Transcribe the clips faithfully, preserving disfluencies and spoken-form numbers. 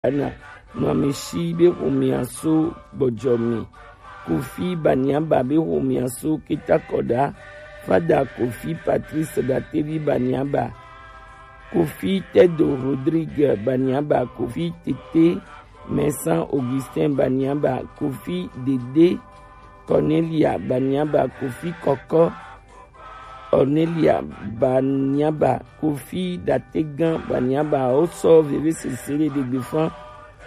Ana, Nuamesi be xomea so Gbɔjɔme, Kofi Baniaba be xomea so Ketakɔɖa, Fada Kofi Patrice Datevi Baniaba, Kofi Tedo Rodrigue Baniaba, Kofi Tete Mɛsan Augustin Baniaba, Kofi Dede Cornelia Baniaba, Kofi Kɔkɔ Cornelia Baniaba, Kofi Dategan Baniaba, wo sɔ veve sese le ɖegbe fan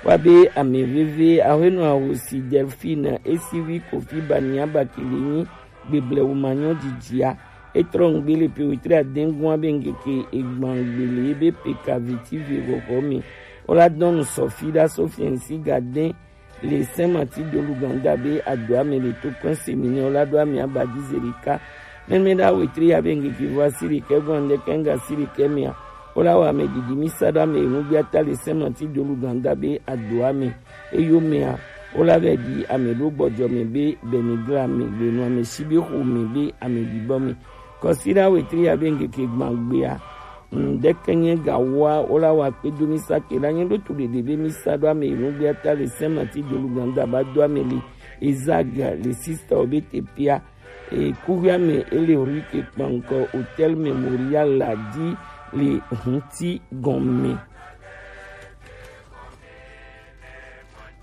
wa be ame veve, ahwenɔ ahosi Delphine, esivi Kofi Baniaba kele nyi gbeble wo manyɔ jijia. Etrɔ ŋgbe le pe wetri adengun abe ŋkeke egban gbe le ebe peka veti ve xɔxɔ me. Wo la dɔn nu sɔfi ɖa so fiɛnsi gaden le Saint Martin de Luganda be adoa me le to kɔn semi ne wo la ɖo ame aba di zerika. Mɛmɛ ɖa wetri ya be ŋkeke vɔ asi ɖekɛ gɔn ɖe kɛnga asi ɖekɛ mea, wo la wɔ ame didi mi sa ɖo ame enu bi ata le Saint Martin de Luganda be adoa me. Eyo mea, wo la vɛ ɖi ame ɖo Gbɔjɔme be Benigra me, le Nuamesi be xome be ame ɖibɔ me. Kɔsi ɖa wetri ya be ŋkeke gban gbea, ŋɖe ke nye gawoa, wo la wa kpe do mi sa ke la nye ɖo tu ɖeɖe be mi sa ɖo ame yi nugbe ata le Saint Martin de Luganda ba do ame li Ezag le sista wo be tepia. E kuhia me ele rue ke kpankɔ Hotel Memorial la di le hunti gɔme.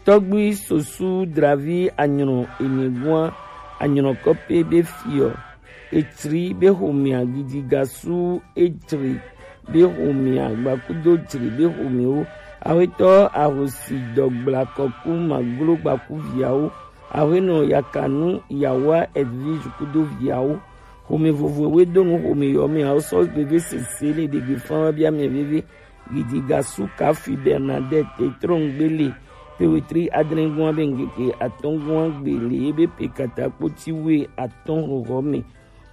Tɔgbui Sosu Dravi Anyrɔ Enegua Anyrɔ Kɔpe be fiɔ, Etsri be xomea, Gidigasu Etsri be xomea, Gbakudo Tsri be xomewo, Awetɔ Ahosi Dɔgbla Kɔku Maglo Gbaku viawo, Awenɔ Yakanu Yawa Edwige kudo viawo, xome vovovoe do nu xome yɔ me awo sɔ veve sese le ɖegbe fan wa bia mɛ veve. Gidigasu Kafi Bernadette trɔngbele pe wetri adrɛngun abe ŋkeke atɔngun agbe le ebe pe katakpo ti we atɔn xoxɔ me.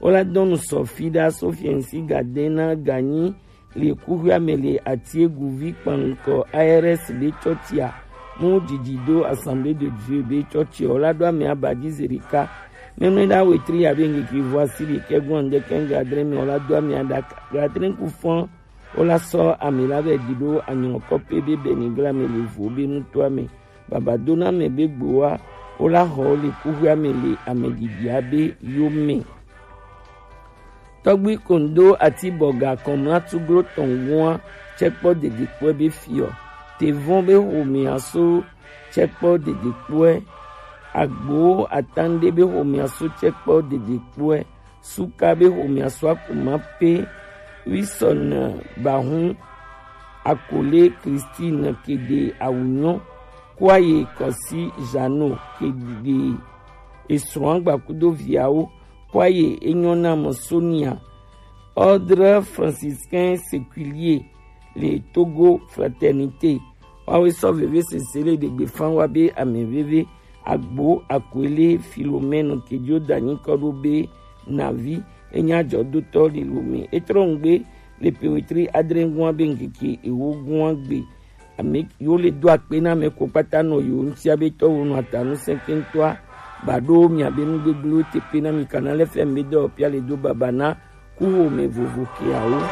Wo la dɔn nu sɔfi ɖa so fiɛnsi gadɛn na ganyi le kuxia me le Atiegu vi kpankɔ A R S be tsɔtsia mu didi do Assemblée de Dieu be tsɔtsia wo la ɖo ame aba di zerika. Mɛmɛ ɖa wetri abe ŋkeke vɔ asi ɖekɛ gɔn ɖekɛ ŋgadrɛ me wo la do ame aɖaka gadrɛ ku fɔn. Wo la sɔ ame la vɛ di ɖo anyɔkɔ pe be Benigra me le vo be nutoa me. Baba do na me be gboa, wo la xɔ wo le kuxia me le ame didi abe yo me. Tɔgbi Kondo ati bɔga kɔmla tuglo tɔn gua tsɛkpɔ dedekpɔɛ be fiɔ. Tevɔn be xomea so tsɛkpɔ dedekpɔɛ. Agbo Atande be xomea so tsɛkpɔ dedekpɔɛ. Suka be xomea so akuma pe. Wisɔn Bahun, Akole Christine Kede Awunyo, Kwaye Kɔsi Jano Kede esrɔ̃ agba kudo viawo, Kwaye Enyɔnamɔ Sonia, Ordre Franciscain Séculier le Togo Fraternité. Wawe sɔ veve sese le ɖegbe fan wa be ame veve. Agbo Akwele Philomène Kedio Dani kɔ ɖo be Navi, enye adzɔdotɔ le Lome. Etrɔ ŋgbe le pe wetri adre gua be ŋkeke ewo gua gbe. Ame yiwo le do akpe na ame ko kpata nɔ yiwo ŋutia be tɔwo nɔ atanu sɛnkɛntɔa ba ɖo mia be nu gbegblẽwo te pe na mi kana le fɛn be dɔ pia le do baba na kuxome vovo keawo.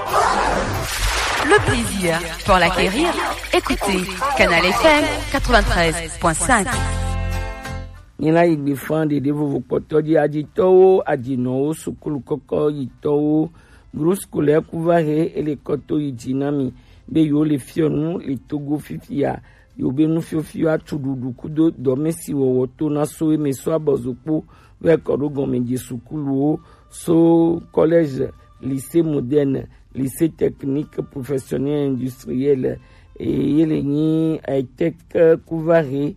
Le plaisir pour l'acquérir, écoutez Canal F M quatre-vingt-treize point cinq. Nyina yi gbe fan ɖeɖe vovo kpɔtɔ dzi adzitɔwo, adzinɔwo, sukulu kɔkɔ yitɔwo, groupe scolaire ku va he ele kɔto yi dzi na mi be yewo le fiɔ nu le Togo fifia. Yewo be nufiɔfiɔ atu ɖuɖu kudo dɔmesi wɔwɔ to na so eme so abɔzokpo vɛ kɔ ɖo gɔmedze sukuluwo so collège, lycée moderne, lycée technique professionnel industriel, eye le nyi etec ku va he.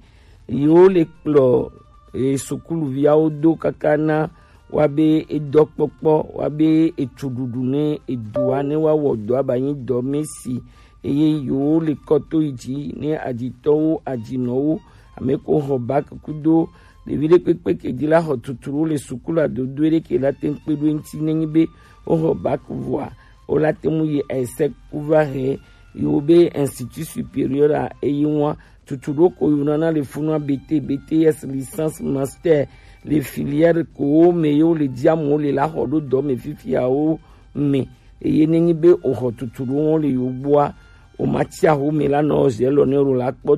Yewo le kplɔ e sukuluviawo do kaka na wa be edɔkpɔkpɔ, wa be etsuɖuɖu ne edua ne wa wɔ dɔa ba nyi dɔmesi. Eye yewo le kɔ to yi dzi ne adzitɔwo, adzinɔwo, ame ko xɔ bac kudo ɖevi ɖe kpekpe ke dzi la xɔ tuturu le sukulu adodo ɖe ke la te ŋu kpe ɖo eŋuti ne nyi be wo xɔ bac vɔa wo la te ŋu yi ese ku va he yewo be institut supérieur a eyi ŋua. Tutu ɖo ko yonana le funua B T, B T S, licence, master, le filière ko me yewo le dzi amewo le la xɔ ɖo dɔ me fifiawo me. Eye ne nyi be o xɔ tutu ɖo wo le yo gbɔa, O ma tia hu mi la nɔ zi elo ne ru la kpɔ